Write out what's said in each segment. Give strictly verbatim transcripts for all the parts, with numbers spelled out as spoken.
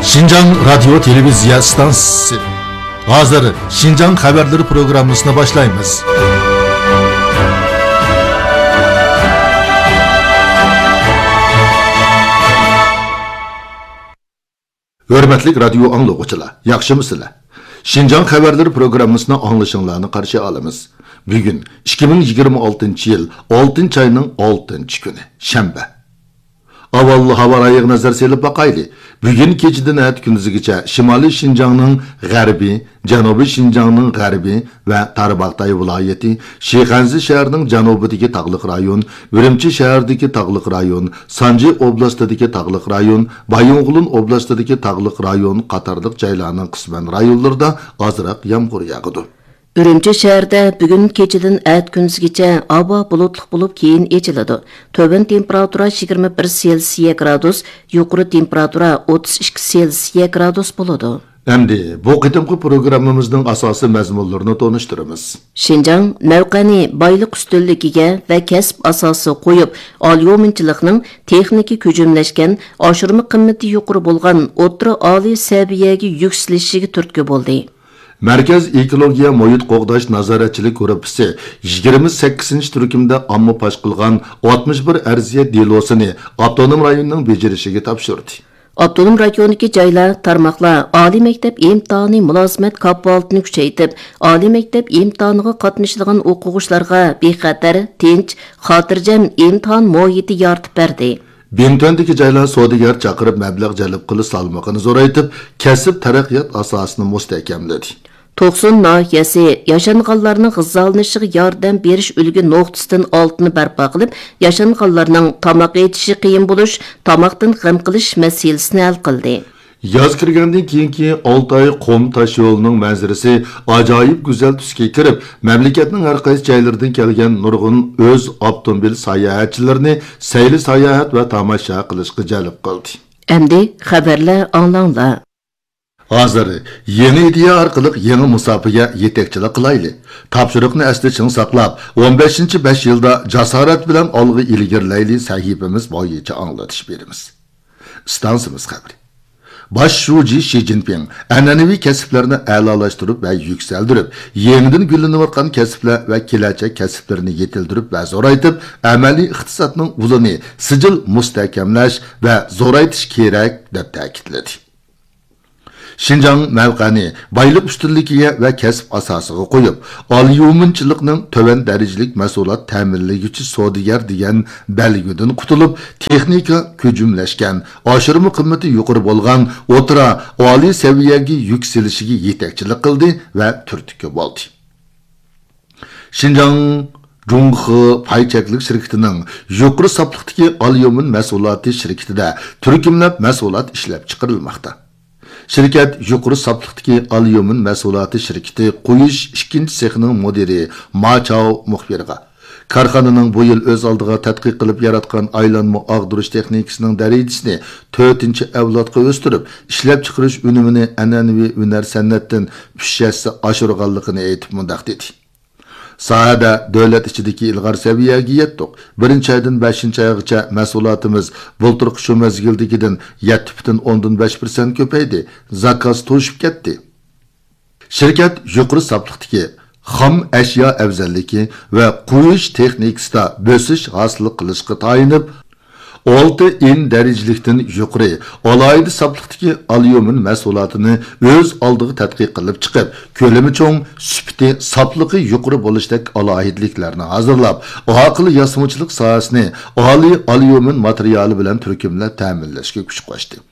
شىنجاڭ رادىيو تېلېۋىزىيە ئىستانسىسى. ھازىر شىنجاڭ خەۋەرلىرى پروگراممىسىنى باشلايمىز. ھۆرمەتلىك رادىيو ئاڭلىغۇچىلار، ياخشىمۇسىلەر؟ شىنجاڭ خەۋەرلىرى پروگراممىسىنى ئاڭلىشىڭلارنى قارشى ئالىمىز. بۈگۈن ئىككى مىڭ يىگىرمە ئالتىنچى يىل ئالتىنچى ئاينىڭ ئالتىنچى كۈنى، شەنبە. ئاۋۋال ھاۋا رايىغا نەزەر سېلىپ باقايلى. بۈگۈن كېچىدىن ئەتە كۈندۈزگىچە شىمالىي شىنجاڭنىڭ غەربىي، جەنۇبىي شىنجاڭنىڭ غەربىي ۋە تارباغاتاي ۋىلايىتى، شىخەنزە شەھىرىنىڭ جەنۇبىدىكى تاغلىق رايون، ئۈرۈمچى شەھىرىدىكى تاغلىق رايون، سانجى ئوبلاستىدىكى تاغلىق رايون، بايىنغولىن ئوبلاستىدىكى تاغلىق رايون قاتارلىق جايلارنىڭ قىسمەن رايونلىرىدا ئازراق يامغۇر ياغىدۇ. ئۈرۈمچى شەھىرىدە بۈگۈن كېچىدىن ئەتە كۈندۈزگىچە ھاۋا بۇلۇتلۇق بولۇپ، كېيىن ئېچىلىدۇ. تۆۋەن تېمپېراتۇرا يىگىرمە بىر سېلسىيە گرادۇس، يۇقىرى تېمپېراتۇرا ئوتتۇز ئىككى سېلسىيە گرادۇس بولىدۇ. ئەمدى بۇ قېتىمقى پروگراممىمىزنىڭ ئاساسىي مەزمۇنلىرىنى تونۇشتۇرىمىز. شىنجاڭ مەۋقەنى بايلىق ئۈستۈنلۈكىگە ۋە كەسىپ ئاساسىغا قويۇپ، ئاليۇمىنچىلىقنىڭ تېخنىكا كۆجۈملەشكەن، ئاشۇرما قىممىتى يۇقىرى بولغان ئوتتۇرا ئالىي سەۋىيەگە يۈكسىلىشىگە تۈرتكە بولدى. مەركەز ئېكولوگىيە مۇھىت قوغداش نازارەتچىلىك گۇرۇپپىسى يىگىرمە سەككىزىنچى تۈركۈمدە ئامما پاش قىلغان ئاتمىش بىر ئەرزىيەت دېلوسىنى ئاپتونوم رايوننىڭ بېجىرىشىگە تاپشۇردى. ئاپتونوم رايوندىكى جايلار، تارماقلار ئالىي مەكتەپ ئىمتىھانى مۇلازىمەت كاپالىتىنى كۈچەيتىپ، ئالىي مەكتەپ ئىمتىھانىغا قاتنىشىدىغان ئوقۇغۇچىلارغا بىخەتەر، تىنچ، خاتىرجەم ئىمتىھان مۇھىتى يارىتىپ بەردى. بىڭتۈەندىكى جايلار سودىگەر چاقىرىپ مەبلەغ جەلپ قىلىش سالمىقىنى زورايتىپ، كەسىپ تەرەققىيات ئاساسىنى مۇستەھكەملىدى. توقسۇن ناھىيەسى ياشانغانلارنىڭ غىزالىنىشىغا ياردەم بېرىش ئۈلگە نۇقتىسىدىن ئالتىنى بەرپا قىلىپ، ياشانغانلارنىڭ تاماق ئېتىشى قىيىن بولۇش، تاماقتىن غەم قىلىش مەسىلىسىنى ھەل قىلدى. ياز كىرگەندىن كېيىنكى ئالتە ئاي قۇم تاش يولىنىڭ مەنزىرىسى ئاجايىپ گۈزەل تۈسكە كىرىپ، مەملىكەتنىڭ ھەر قايسى جايلىرىدىن كەلگەن نۇرغۇن ئۆز ئاپتوموبىل ساياھەتچىلىرىنى سەيلە ساياھەت ۋە تاماشا قىلىشقا جەلپ قىلدى. ئەمدى خەۋەرلەر ئاڭلاڭلار. ھازىر يېڭى ئىدىيە ئارقىلىق يېڭى مۇساپىگە يېتەكچىلىك قىلايلى. تاپشۇرۇقنى ئەستە چىڭ ساقلاپ، ئون بەشىنچى بەش يىلدا جاسارەت بىلەن ئالغا ئىلگىرىلەيلى سەھىپىمىز بويىچە ئاڭلىتىش بېرىمىز. ئىستانسىمىز خەۋىرى. باش شۇجى شى جىنپىڭ ئەنئەنىۋى كەسىپلەرنى ئەلالاشتۇرۇپ ۋە يۈكسەلدۈرۈپ، يېڭىدىن گۈللىنىۋاتقان كەسىپلەر ۋە كېلەچەك كەسىپلىرىنى يېتىلدۈرۈپ ۋە زورايتىپ، ئەمەلىي ئىقتىسادنىڭ ئۇلىنى سىجىل مۇستەھكەملەش ۋە زورايتىش كېرەك، دەپ تەكىتلىدى. شىنجاڭ مەۋقەنى بايلىق ئۈستۈنلۈكىگە ۋە كەسىپ ئاساسىغا قويۇپ، ئاليۇمىنچىلىقنىڭ تۆۋەن دەرىجىلىك مەھسۇلات تەمىنلىگۈچى سودىگەر دېگەن بەلگىدىن قۇتۇلۇپ، تېخنىكا كۆجۈملەشكەن، ئاشۇرما قىممىتى يۇقىرى بولغان ئوتتۇرا، ئالىي سەۋىيەگە يۈكسىلىشىگە يېتەكچىلىك قىلدى ۋە تۈرتكە بولدى. شىنجاڭ جۇڭخې پاي چەكلىك شىركىتىنىڭ يۇقىرى ساپلىقتىكى ئاليۇمىن مەھسۇلاتى شىركىتىدە تۈركۈملەپ مەھسۇلات ئىشلەپ چىقىرىلماقتا. شىركەت يۇقىرى ساپلىقتىكى ئاليۇمىن مەھسۇلاتى شىركىتى قويۇش ئىككىنچى سېخىنىڭ مۇدىرى ما چاۋ مۇخبىرغا، كارخانىنىڭ بۇ يىل ئۆز ئالدىغا تەتقىق قىلىپ ياراتقان ئايلانما ئاغدۇرۇش تېخنىكىسىنىڭ دەرىجىسىنى تۆتىنچى ئەۋلادقا ئۆستۈرۈپ، ئىشلەپچىقىرىش ئۈنۈمىنى ئەنئەنىۋى ھۈنەر سەنئەتتىن ئۈچ ھەسسە ئاشۇرغانلىقىنى ئېيتىپ مۇنداق دېدى. ساھەدە دۆلەت ئىچىدىكى ئىلغار سەۋىيەگە يەتتۇق. بىرىنچى ئايدىن بەشىنچى ئايغىچە مەھسۇلاتىمىز بۇلتۇرقى شۇ مەزگىلدىكىدىن يەتتە پۈتۈن ئوندىن بەش پىرسەنت كۆپەيدى، زاكاز توشۇپ كەتتى. شىركەت يۇقىرى ساپلىقتىكى خام ئەشيا ئەۋزەللىكى ۋە قويۇش تېخنىكىسىدا بۆسۈش ھاسىل قىلىشقا تايىنىپ، ئالتە ئېن دەرىجىلىكتىن يۇقىرى ئالاھىدە ساپلىقتىكى ئاليۇمىن مەھسۇلاتىنى ئۆز ئالدىغا تەتقىق قىلىپ چىقىپ، كۆلىمى چوڭ، سۈپىتى، ساپلىقى يۇقىرى بولۇشتەك ئالاھىدىلىكلەرنى ھازىرلاپ، ئاقىل ياسىمىچىلىق ساھەسىنى ئالىي ئاليۇمىن ماتېرىيالى بىلەن تۈركۈملەپ تەمىنلەشكە كۈچ قوشتى.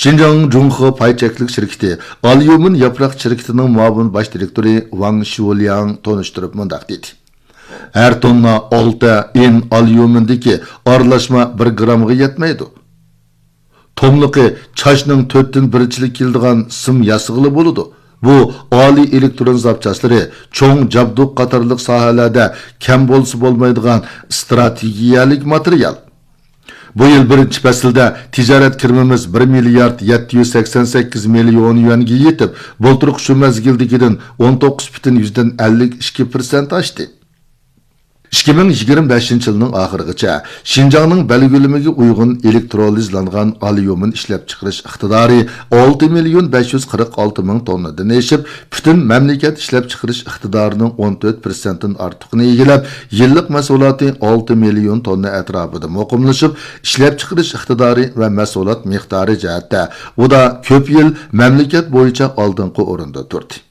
شىنجاڭ جۇڭخې پاي چەكلىك شىركىتى ئاليۇمىن ياپراق شىركىتىنىڭ مۇئاۋىن باش دىرېكتورى ۋاڭ شيۇلياڭ تونۇشتۇرۇپ مۇنداق دېدى: ھەر توننا ئالتە ئېن ئاليۇمىندىكى ئارىلاشما بىر گرامغا يەتمەيدۇ. توملۇقى چاچنىڭ تۆتتىن بىرىچىلىك كېلىدىغان سىم ياسىغىلى بولىدۇ. بۇ ئالىي ئېلېكترون زاپچاسلىرى، چوڭ جابدۇق قاتارلىق ساھەلەردە كەم بولسا بولمايدىغان ئىستراتېگىيەلىك ماتېرىيال. بۇ يىل بىرىنچى پەسىلدە تىجارەت كىرىمىمىز بىر مىليارد يەتتە يۈز سەكسەن سەككىز مىليون يۈەنگە يېتىپ، بۇلتۇرقى شۇ مەزگىلدىكىدىن ئون توققۇز پۈتۈن يۈزدىن ئەللىك ئىككى پىرسەنت ئاشتى. ئىككى مىڭ يىگىرمە بەشىنچى يىلنىڭ ئاخىرىغىچە شىنجاڭنىڭ بەلگىلىمىگە ئۇيغۇن ئېلېكترولىزلانغان ئاليۇمىن ئىشلەپچىقىرىش ئىقتىدارى ئالتە مىليون بەش يۈز قىرىق ئالتە مىڭ توننىدىن ئېشىپ، پۈتۈن مەملىكەت ئىشلەپچىقىرىش ئىقتىدارىنىڭ ئون تۆت پىرسەنتتىن ئارتۇقىنى ئىگىلەپ، يىللىق مەھسۇلاتى ئالتە مىليون توننا ئەتراپىدا مۇقىملىشىپ، ئىشلەپچىقىرىش ئىقتىدارى ۋە مەھسۇلات مىقدارى جەھەتتە ئۇدا كۆپ يىل مەملىكەت بويىچە ئالدىنقى ئورۇندا تۇردى.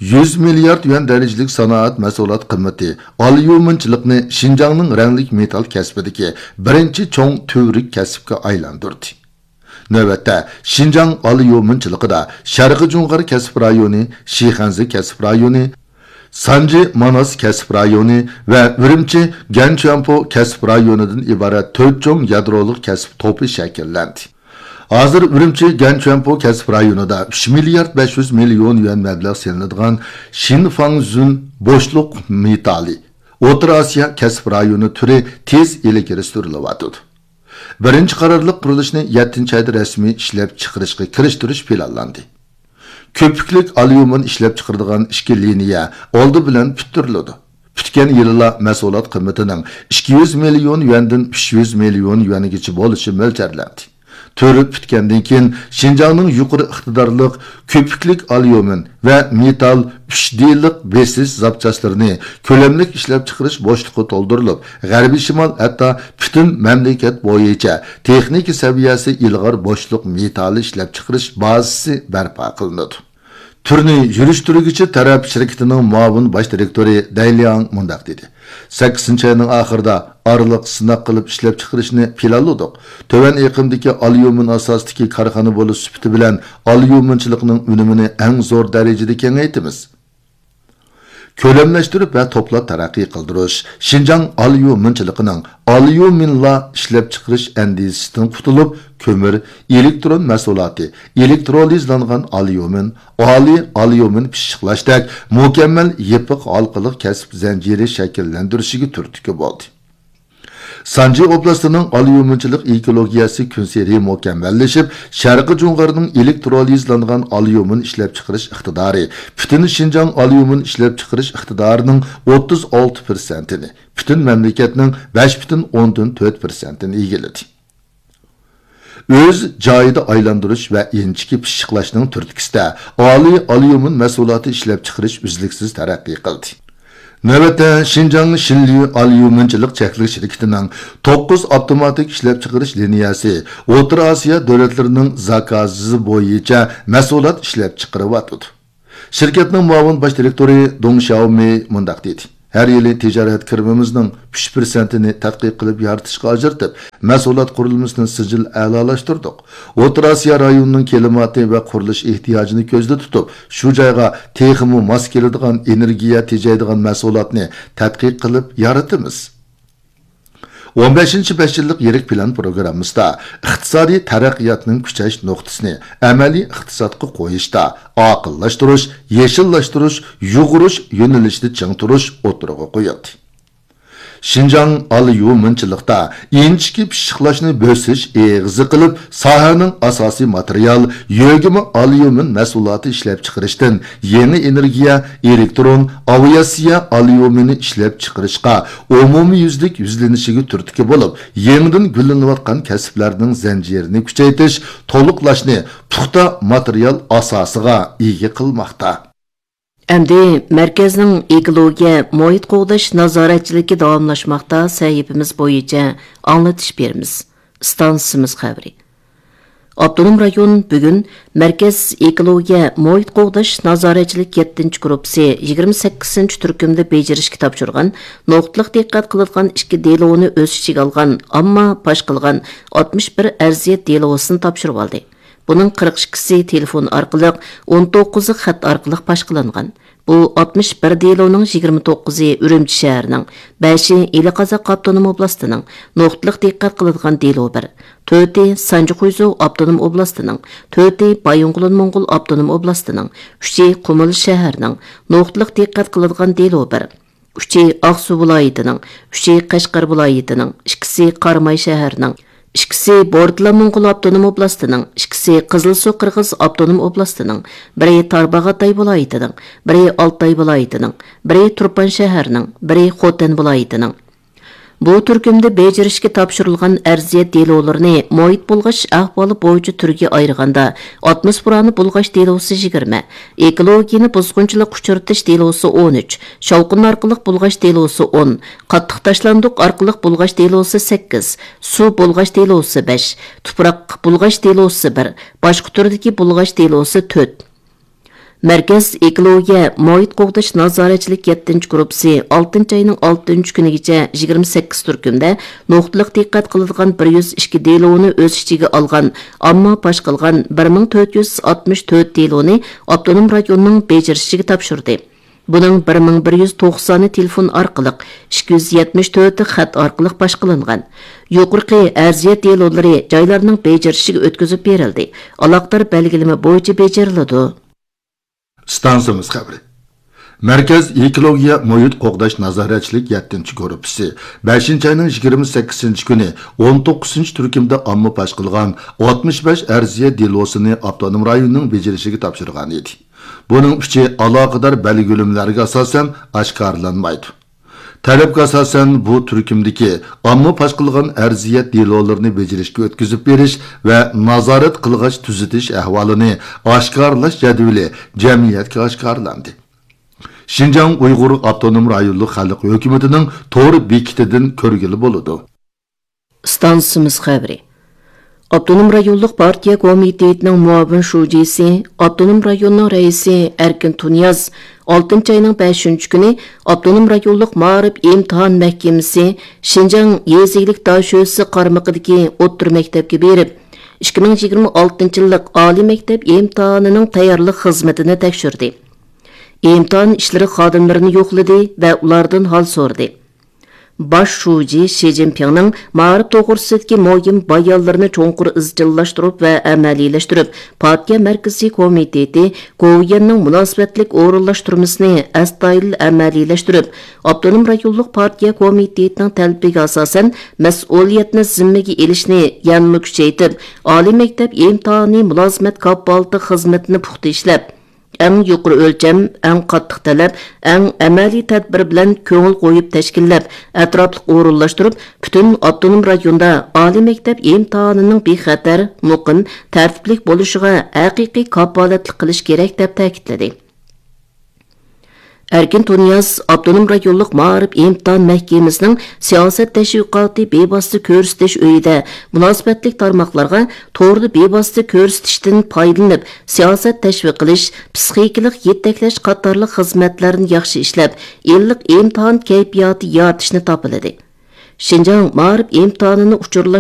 يۈز مىليارد يۈەن دەرىجىلىك سانائەت مەھسۇلات قىممىتى ئاليۇمىنچىلىقنى شىنجاڭنىڭ رەڭلىك مېتال كەسپىدىكى بىرىنچى چوڭ تۈۋرۈك كەسىپكە ئايلاندۇردى. نۆۋەتتە، شىنجاڭ ئاليۇمىنچىلىقىدا شەرقىي جۇڭغار كەسىپ رايونى، شىخەنزە كەسىپ رايونى، سانجى ماناس كەسىپ رايونى ۋە ئۈرۈمچى گەنچۈەنپو كەسىپ رايونىدىن ئىبارەت تۆت چوڭ يادرولۇق كەسىپ توپى شەكىللەندى. ھازىر ئۈرۈمچى گەنچۈەنپو كەسىپ رايونىدا ئۈچ مىليارد بەش يۈز مىليون يۈەن مەبلەغ سېلىنىدىغان شىنفاڭزۈن بوشلۇق مېتالى ئوتتۇرا ئاسىيا كەسىپ رايونى تۈرى تېز ئىلگىرى سۈرۈلۈۋاتىدۇ. بىرىنچى قارارلىق قۇرۇلۇشنى يەتتىنچى ئايدا رەسمىي ئىشلەپچىقىرىشقا كىرىشتۈرۈش پىلانلاندى. كۆپۈكلۈك ئاليۇمىن ئىشلەپچىقىرىدىغان ئىككى لىنىيە ئالدى بىلەن پۈتتۈرۈلىدۇ. پۈتكەن يىلىلا مەھسۇلات قىممىتىنىڭ ئىككى يۈز مىليون يۈەندىن ئۈچ يۈز مىليون يۈەنگىچە بولۇشى مۆلچەرلەندى. تۈر پۈتكەندىن كېيىن، شىنجاڭنىڭ يۇقىرى ئىقتىدارلىق كۆپۈكلۈك ئاليۇمىن ۋە مېتال ئۈچ دېلىق بېسىش زاپچاسلىرىنى كۆلەملىك ئىشلەپچىقىرىش بوشلۇقى تولدۇرۇلۇپ، غەربىي شىمال، ھەتتا پۈتۈن مەملىكەت بويىچە تېخنىكا سەۋىيەسى ئىلغار بوشلۇق مېتالى ئىشلەپچىقىرىش بازىسى بەرپا قىلىنىدۇ. تۈرنى يۈرۈشتۈرگۈچى تەرەپ شىركىتىنىڭ مۇئاۋىن باش دىرېكتورى دەي لياڭ مۇنداق دېدى: سەككىزىنچى ئاينىڭ ئاخىرىدا ئارىلىق سىناق قىلىپ ئىشلەپچىقىرىشنى پىلانلىدۇق. تۆۋەن ئېقىمدىكى ئاليۇمىن ئاساستىكى كارخانا بولۇش سۈپىتى بىلەن ئاليۇمىنچىلىقنىڭ ئۈنۈمىنى ئەڭ زور دەرىجىدە كېڭەيتىمىز. كۆلەملەشتۈرۈپ ۋە توپلاپ تەرەققىي قىلدۇرۇش شىنجاڭ ئاليۇمىنچىلىقىنىڭ ئاليۇمىنلا ئىشلەپچىقىرىش ئەندىزىسىدىن قۇتۇلۇپ، كۆمۈر، ئېلېكترون مەھسۇلاتى، ئېلېكترولىزلانغان ئاليۇمىن، ئالىي ئاليۇمىن پىششىقلاشتەك مۇكەممەل يېپىق ھالقىلىق كەسىپ زەنجىرى شەكىللەندۈرۈشىگە تۈرتكە بولدى. سانجى ئوبلاستىنىڭ ئاليۇمىنچىلىق ئېكولوگىيەسى كۈنسېرى مۇكەممەللىشىپ، شەرقىي جۇڭغارنىڭ ئېلېكترولىزلانغان ئاليۇمىن ئىشلەپچىقىرىش ئىقتىدارى پۈتۈن شىنجاڭ ئاليۇمىن ئىشلەپچىقىرىش ئىقتىدارىنىڭ ئوتتۇز ئالتە پىرسەنتىنى، پۈتۈن مەملىكەتنىڭ بەش پۈتۈن ئوندىن تۆت پىرسەنتىنى ئىگىلىدى. ئۆز جايىدا ئايلاندۇرۇش ۋە ئىنچىكە پىششىقلاشنىڭ تۈرتكىسىدە ئالىي ئاليۇمىن مەھسۇلاتى ئىشلەپچىقىرىش ئۈزلۈكسىز تەرەققىي قىلدى. نۆۋەتتە، شىنجاڭ شىنليۇ ئاليۇمىنچىلىق چەكلىك شىركىتىنىڭ توققۇز ئاپتوماتىك ئىشلەپچىقىرىش لىنىيەسى ئوتتۇرا ئاسىيا دۆلەتلىرىنىڭ زاكازى بويىچە مەھسۇلات ئىشلەپچىقىرىۋاتىدۇ. شىركەتنىڭ مۇئاۋىن باش دىرېكتورى دۇڭ شياۋمېي مۇنداق دېدى: ھەر يىلى تىجارەت كىرىمىمىزنىڭ ئۈچ پىرسەنتىنى تەتقىق قىلىپ يارىتىشقا ئاجرىتىپ، مەھسۇلات قۇرۇلمىسىنى سىجىل ئەلالاشتۇردۇق. ئوتتۇرا ئاسىيا رايونىنىڭ كىلىماتى ۋە قۇرۇلۇش ئېھتىياجىنى كۆزدە تۇتۇپ، شۇ جايغا تېخىمۇ ماس كېلىدىغان ئېنېرگىيە تېجەيدىغان مەھسۇلاتنى تەتقىق قىلىپ يارىتىمىز. ئون بەشىنچى بەش يىللىق يىرىك پىلان پروگراممىسىدا ئىقتىسادىي تەرەققىياتنىڭ كۈچەش نۇقتىسىنى ئەمەلىي ئىقتىسادقا قويۇشتا ئاقىللاشتۇرۇش، يېشىللاشتۇرۇش، يۇغۇرۇش يۆنىلىشىنى چىڭ تۇرۇش ئوتتۇرىغا قويۇلدى. شىنجاڭ ئاليۇمىنچىلىقتا ئىنچىكە پىششىقلاشنى بۆسۈش ئېغىزى قىلىپ، ساھەنىڭ ئاساسىي ماتېرىيال، يۆگىمە ئاليۇمىن مەھسۇلاتى ئىشلەپچىقىرىشتىن يېڭى ئېنېرگىيە، ئېلېكترون، ئاۋىئاتسىيە ئاليۇمىنى ئىشلەپچىقىرىشقا ئومۇميۈزلۈك يۈزلىنىشىگە تۈرتكە بولۇپ، يېڭىدىن گۈللىنىۋاتقان كەسىپلەرنىڭ زەنجىرىنى كۈچەيتىش، تولۇقلاشنى پۇختا ماتېرىيال ئاساسىغا ئىگە قىلماقتا. ئەمدى مەركەزنىڭ ئېكولوگىيە، مۇھىت قوغداش نازارەتچىلىكى داۋاملاشماقتا سەھىپىمىز بويىچە ئاڭلىتىش بېرىمىز. ئىستانسىمىز خەۋىرى. ئاپتونوم رايون بۈگۈن مەركەز ئېكولوگىيە، مۇھىت قوغداش نازارەتچىلىك يەتتىنچى گۇرۇپپىسى يىگىرمە سەككىزىنچى تۈركۈمدە بېجىرىشكە تاپشۇرغان نۇقتىلىق دىققەت قىلىدىغان ئىككى دېلونى ئۆز ئىچىگە ئالغان، ئامما پاش قىلغان ئاتمىش بىر ئەرزىيەت دېلوسىنى تاپشۇرۇۋالدى. بۇنىڭ قىرىق ئىككىسى تېلېفون ئارقىلىق، ئون توققۇزى خەت ئارقىلىق پاش قىلىنغان. بۇ ئاتمىش بىر دېلونىڭ يىگىرمە توققۇزى ئۈرۈمچى شەھىرىنىڭ، بەشى ئىلى قازاق ئاپتونوم ئوبلاستىنىڭ، نۇقتىلىق دىققەت قىلىدىغان دېلو بىر، تۆتى سانجى خۇيزۇ ئاپتونوم ئوبلاستىنىڭ، تۆتى بايىنغولىن موڭغۇل ئاپتونوم ئوبلاستىنىڭ، ئۈچى قۇمۇل شەھىرىنىڭ، نۇقتىلىق دىققەت قىلىدىغان دېلو بىر، ئۈچى ئاقسۇ ۋىلايىتىنىڭ، ئۈچى قەشقەر ۋىلايىتىنىڭ، ئىككىسى قاراماي شەھىرىنىڭ، ئىككىسى بورتالا موڭغۇل ئاپتونوم ئوبلاستىنىڭ، ئىككىسى قىزىلسۇ قىرغىز ئاپتونوم ئوبلاستىنىڭ، بىرى تارباغاتاي ۋىلايىتىنىڭ، بىرى ئالتاي ۋىلايىتىنىڭ، بىرى تۇرپان شەھەرنىڭ، بىرى خوتەن ۋىلايىتىنىڭ. بۇ تۈركۈمدە بېجىرىشكە تاپشۇرۇلغان ئەرزىيەت دېلولىرىنى مۇھىت بۇلغاش ئەھۋالى بويىچە تۈرگە ئايرىغاندا، ئاتموسفېرانى بۇلغاش دېلوسى يىگىرمە، ئېكولوگىيەنى بۇزغۇنچىلىققا ئۇچرىتىش دېلوسى ئون ئۈچ، شاۋقۇن ئارقىلىق بۇلغاش دېلوسى ئون، قاتتىق تاشلاندۇق ئارقىلىق بۇلغاش دېلوسى سەككىز، سۇ بۇلغاش دېلوسى بەش، تۇپراق بۇلغاش دېلوسى بىر، باشقا تۈردىكى بۇلغاش دېلوسى تۆت. مەركەز ئېكولوگىيە مۇھىت قوغداش نازارەتچىلىك يەتتىنچى گۇرۇپپىسى ئالتىنچى ئاينىڭ ئالتىنچى كۈنىگىچە يىگىرمە سەككىز تۈركۈمدە نۇقتىلىق دىققەت قىلىدىغان بىر يۈز ئىككى دېلونى ئۆز ئىچىگە ئالغان، ئامما پاش قىلغان بىر مىڭ تۆت يۈز ئاتمىش تۆت دېلونى ئاپتونوم رايوننىڭ بېجىرىشىگە تاپشۇردى. بۇنىڭ بىر مىڭ بىر يۈز توقسانى تېلېفون ئارقىلىق، ئىككى يۈز يەتمىش تۆتى خەت ئارقىلىق پاش قىلىنغان. يۇقىرىقى ئەرزىيەت دېلولىرى جايلارنىڭ بېجىرىشىگە ئۆتكۈزۈپ بېرىلدى، ئالاقىدار بەلگىلىمە بويىچە بېجىرىلىدۇ. ئىستانسىمىز خەۋىرى. مەركەز ئېكولوگىيە مۇھىت قوغداش نازارەتچىلىك يەتتىنچى گۇرۇپپىسى بەشىنچى ئاينىڭ يىگىرمە سەككىزىنچى كۈنى ئون توققۇزىنچى تۈركۈمدە ئامما پاش قىلغان ئاتمىش بەش ئەرزىيەت دېلوسىنى ئاپتونوم رايوننىڭ بېجىرىشىگە تاپشۇرغان ئىدى. بۇنىڭ ئۈچى ئالاقىدار بەلگىلىمىلەرگە ئاساسەن ئاشكارىلانمايدۇ. تەلەپكە ئاساسەن، بۇ تۈركۈمدىكى ئامما پاش قىلغان ئەرزىيەت دېلولىرىنى بېجىرىشكە ئۆتكۈزۈپ بېرىش ۋە نازارەت قىلغاچ تۈزىتىش ئەھۋالىنى ئاشكارىلاش جەدۋىلى جەمئىيەتكە ئاشكارىلاندى. شىنجاڭ ئۇيغۇر ئاپتونوم رايونلۇق خەلق ھۆكۈمىتىنىڭ تور بېكىتىدىن كۆرگىلى بولىدۇ. ئىستانسىمىز خەۋىرى. ئاپتونوم رايونلۇق پارتىيە كومىتېتىنىڭ مۇئاۋىن شۇجىسى، ئاپتونوم رايوننىڭ رەئىسى ئەركىن تۇنىياز ئالتىنچى ئاينىڭ بەشىنچى كۈنى ئاپتونوم رايونلۇق مائارىپ ئىمتىھان مەھكىمىسى شىنجاڭ يېزا ئىگىلىك داشۆسى قارمىقىدىكى ئوتتۇرا مەكتەپكە بېرىپ، ئىككى مىڭ يىگىرمە ئالتىنچى يىللىق ئالىي مەكتەپ ئىمتىھانىنىڭ تەييارلىق خىزمىتىنى تەكشۈردى. ئىمتىھان ئىشلىرى خادىملىرىنى يوقلىدى ۋە ئۇلاردىن ھال سورىدى. باش شۇجى شى جىنپىڭنىڭ مائارىپ توغرىسىدىكى مۇھىم بايانلىرىنى چوڭقۇر ئىزچىللاشتۇرۇپ ۋە ئەمەلىيلەشتۈرۈپ، پارتىيە مەركىزىي كومىتېتى گوۋۇيۈەننىڭ مۇناسىۋەتلىك ئورۇنلاشتۇرمىسىنى ئەستايىدىل ئەمەلىيلەشتۈرۈپ، ئاپتونوم رايونلۇق پارتىيە كومىتېتىنىڭ تەلىپىگە ئاساسەن، مەسئۇلىيەتنى زىممىگە ئېلىشنى يەنىمۇ كۈچەيتىپ، ئالىي مەكتەپ ئىمتىھانى مۇلازىمەت كاپالىتى خىزمىتىنى پۇختا ئىشلەپ، ئەڭ يۇقىرى ئۆلچەم، ئەڭ قاتتىق تەلەپ، ئەڭ ئەمەلىي تەدبىر بىلەن كۆڭۈل قويۇپ تەشكىللەپ، ئەتراپلىق ئورۇنلاشتۇرۇپ، پۈتۈن ئاپتونوم رايوندا ئالىي مەكتەپ ئىمتىھانىنىڭ بىخەتەر، مۇقىم، تەرتىپلىك بولۇشىغا ھەقىقىي كاپالەتلىك قىلىش كېرەك، دەپ تەكىتلىدى. ئەركىن تۇنىياز ئاپتونوم رايونلۇق مائارىپ ئىمتىھان مەھكىمىسىنىڭ سىياسەت تەشۋىقاتى بىۋاسىتە كۆرسىتىش ئۆيىدە مۇناسىۋەتلىك تارماقلارغا توردا بىۋاسىتە كۆرسىتىشتىن پايدىلىنىپ، سىياسەت تەشۋىق قىلىش، پىسخىكىلىق يېتەكلەش قاتارلىق خىزمەتلەرنى ياخشى ئىشلەپ، ئىللىق ئىمتىھان كەيپىياتى يارىتىشنى تاپىلىدى. شىنجاڭ مائارىپ ئىمتىھانىنى ئۇچۇرلاش